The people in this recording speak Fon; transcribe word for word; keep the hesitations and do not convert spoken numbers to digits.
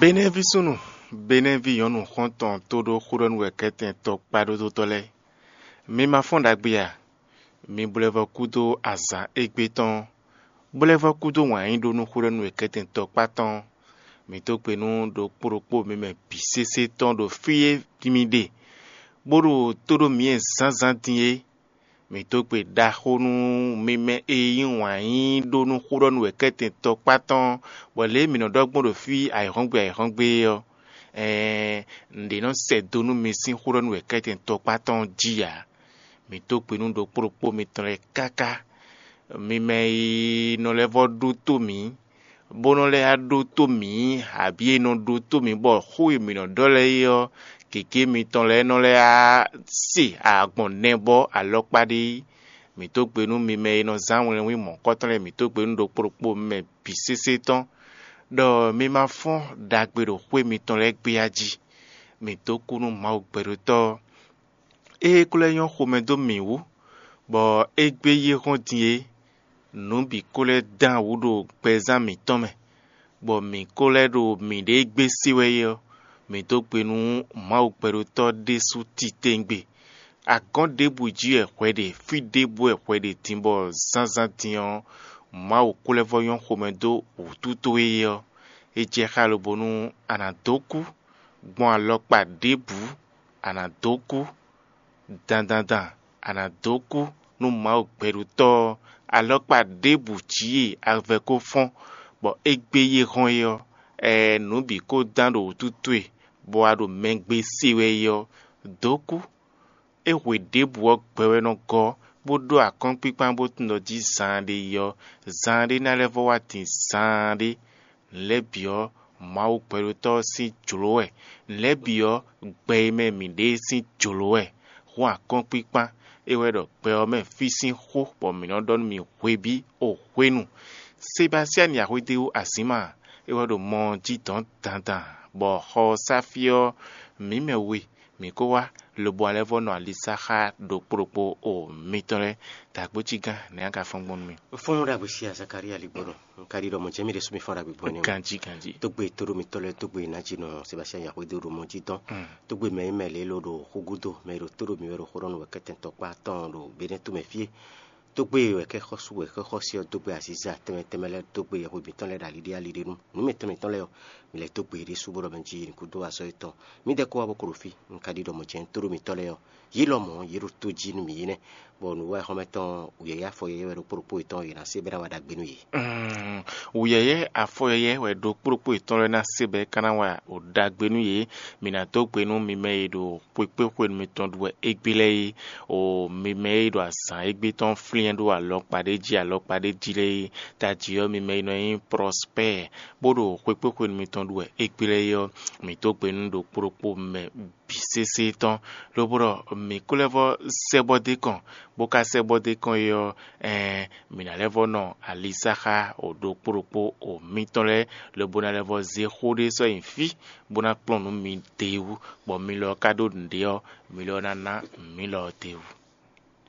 Benɛ́ví súnnu, Benɛ́ví nyɔ̌nu xɔ́ntɔn tó ɖó xó ɖɔ nú wɛ kɛ́tɛn tɔkpá ɖódótɔ́ lɛ́ɛ. Mi ma fɔ́n ɖagbe a? Mi blɛ́ vɔ kúdó azǎn égbé tɔn, blɛ́ vɔ kúdó wǎn yí ɖó nú xó ɖɔ nú wɛ kɛ́tɛn tɔkpá tɔn. Mi dó gbe nú ɖokpó ɖokpó mi mɛ bǐ sésé tɔn ɖo fí e mi ɖe, bó ɖo tó ɖó mǐ e zǎnzǎn din é. Mǐ dó gbe ɖaxó nú mi mɛ e yí wǎn yí ɖó nú xó ɖɔ nú wɛ kɛ́tɛn tɔkpá tɔn, bɔ lě e mǐ nɔ ɖɔ gbɔn ɖo fí ayǐhɔ́ngbe ayǐhɔ́ngbe é ɔ́, ɛɛn, nǔɖé nɔ sɛ do nú mi sín xó ɖɔ nú wɛ kɛ́tɛn tɔkpá tɔn jí ǎ. Mǐ dó gbe nú ɖokpó ɖokpó mitɔn lɛ́ɛ káká. Mi mɛ e nɔ lɛ́ vɔ ɖótó mǐ, bó nɔ lɛ́ ɖótó mǐ, abǐ e nɔ ɖótó mǐ bɔ xó e mǐ nɔ ɖɔ lɛ́ɛ é ɔ́, gěgé mitɔn lɛ́ɛ nɔ lɛ́ se agbɔn nɛbɔ alɔkpa ɖé yi. Mǐ dó gbe nú mi mɛ e nɔ zán wlɛnwí mɔ̌kɔtɔn lɛ́ɛ, mǐ dó gbe nú ɖokpó ɖokpó mi mɛ bǐ sésé tɔn, ɖɔ mi ma fɔ́n ɖagbe ɖo xwé mitɔn lɛ́ɛ gbéya jí. Mǐ dó kú nú Mawu gbɛɖótɔ́ ɔ́, ée ko lɛ́ nyɔ́ xomɛ dó mǐ wú, bɔ é gbé yi hɔ́n din é, nǔ bǐ ko lɛ́ dán wǔ ɖo gbɛzán mǐtɔn mɛ, bɔ mǐ ko lɛ́ ɖo mǐɖée gbé se wɛ é ɔ́, mǐ dó gbe nú Mawu gbɛɖótɔ́ ɖésú titewungbe. Agɔ̌n ɖěbǔ jí wɛ hwɛ ɖe, fí ɖěbǔ wɛ hwɛ ɖe din bɔ zǎnzǎn din ɔ́, Mawu ko lɛ́ vɔ nyɔ́ xomɛ dó wǔtu towe é ɔ́, é jɛ xá lobonu a nǎ dó kú gbɔn alɔkpa ɖěbǔ, a nǎ dó kú dandandan, a nǎ dó kú nú Mawu gbɛɖutɔ́ ɔ́, alɔkpa ɖěbǔ jí e avɛ ko fɔ́n, bɔ é gbé yi hɔn é ɔ́, ɛɛ nǔ bǐ ko dán ɖo wǔtu towe, bɔ a ɖo mɛgbé se wɛ é ɔ́, dó kú. É hwe ɖěbǔ ɔ́ gbɛ wɛ nɔ gɔ́, bó ɖó akɔ́nkpínkpán bó tunwun ɖɔ jí zaanɖé yi ɔ́, zaanɖé ná lɛ́ vɔ wá din zaanɖé. Nǔ lɛ́ɛ bǐ ɔ́, Mawu gbɛɖótɔ́ ɔ́ sín jlǒ wɛ; nǔ lɛ́ɛ bǐ ɔ́, gbɛ e mɛ mǐ ɖe é sín jlǒ wɛ. Hǔn akɔ́nkpínkpán, é wɛ ɖɔ gbɛ ɔ́ mɛ fí sín xó, bɔ mǐ nɔ ɖɔ nú mi hwebí o hwenu. Sebastiani Axwédéwú Azǐma, é wɛ ɖo mɔ ɔ́ jí dɔ̌n dandan, bɔ xɔ ɔ́ sá fí ɔ́, mǐ mɛ we mǐ ko wá, lobo a lɛ́ vɔ nɔ ali sá xá ɖokpó ɖokpó o mitɔn lɛ́ɛ. Dǎgbójígán, nɛ̌ a ka fɔ́n gbɔn nú mì? Fɔ́n ɖagbe sí Zakalía ligbɔnɔ. Un ka ɖi ɖɔ mɔ̌ jɛ́n mì ɖésú mi fɔ́n ɖagbe gbɔn nɛ́. Ganjí, ganjí. Tógbe tóɖómitɔ́ lɛ́ɛ, tógbe nǎjínɔ Sebastian Yaxwédó ɖo mɔ jí dɔn. Tógbe mɛ e mɛ lě ló ɖo xúgúdó, mɛ e ɖo tóɖó mi wɛ ɖo xó ɖɔ nú wɛ kɛ́tɛn tɔkpá tɔn ɖo Benɛ́ tomɛ fí é. Tógbe wɛ kɛ́ xɔ́sú wɛ xɛ́ xɔ́sí ɔ́ dó gbe aziza tɛnmɛ tɛnmɛ lɛ́ɛ dó gbe yɛhwe mǐtɔn lɛ́ɛ ɖo ali ɖé ali ɖé nu. Nǔ mǐtɔn mǐtɔn lɛ́ɛ ɔ́, mi lɛ́ dó gbe ɖésú bó ɖɔ mɛ jí yi nukúndó azɔ̌ yětɔn. Mǐdɛɛ kó wá bó ko ɖo fí, un ka ɖi ɖɔ mɔ̌ jɛ́n tóɖó mǐtɔn lɛ́ɛ ɔ́, yě lɔmɔ̌ yě ɖo tó jí nú mǐ é nɛ́, bɔ nǔwiwa xɔ́mɛ tɔn wǔyɛ́yɛ́ afɔ yɛ́yɛ́ wɛ ɖokpó ɖokpó yětɔn yě ná se bɔ é ná wa ɖagbe nú yě. Wǔyɛ́yɛ́ afɔ yɛ́yɛ́ wɛ ɖokpó ɖokpó yětɔn lɛ́ɛ ná se bɔ é ka ná wa ɖagbe nú yě. Mǐ ná dó gbe nú mi mɛ e ɖo xwekpéxwenu mitɔn ɖu wɛ égbé lɛ́ɛ é, o mi mɛ e ɖo azǎn égbé tɔn flín ɖó alɔkpa ɖé jí alɔkpa ɖé jí lɛ́ɛ é. Tají ɔ́, mi mɛ e nɔ nyí Prɔspɛ́ɛ, bó ɖo xwekpéxwenu mitɔn ɖu wɛ égbé lɛ́ɛ é ɔ́, mǐ dó gbe nú ɖokpó ɖokpó mɛ bǐ sésé tɔn, lobo ɖɔ mǐ ko lɛ́ vɔ sɛ́ bɔ d'é kɔn, bó ka sɛ́ bɔ d'é kɔn é ɔ́, ɛɛn mǐ ná lɛ́ vɔ nɔ ali sá xá o ɖokpó ɖokpó o mitɔn lɛ́ɛ, lobo ná lɛ́ vɔ zé xó ɖé sɔ́ nyi fí, bó ná kplɔ́n nǔ mi d'é wú, bɔ mi lɔ ka ɖó nǔɖé ɔ́, mi lɔ ná ná mǐ lɔ d'é wú.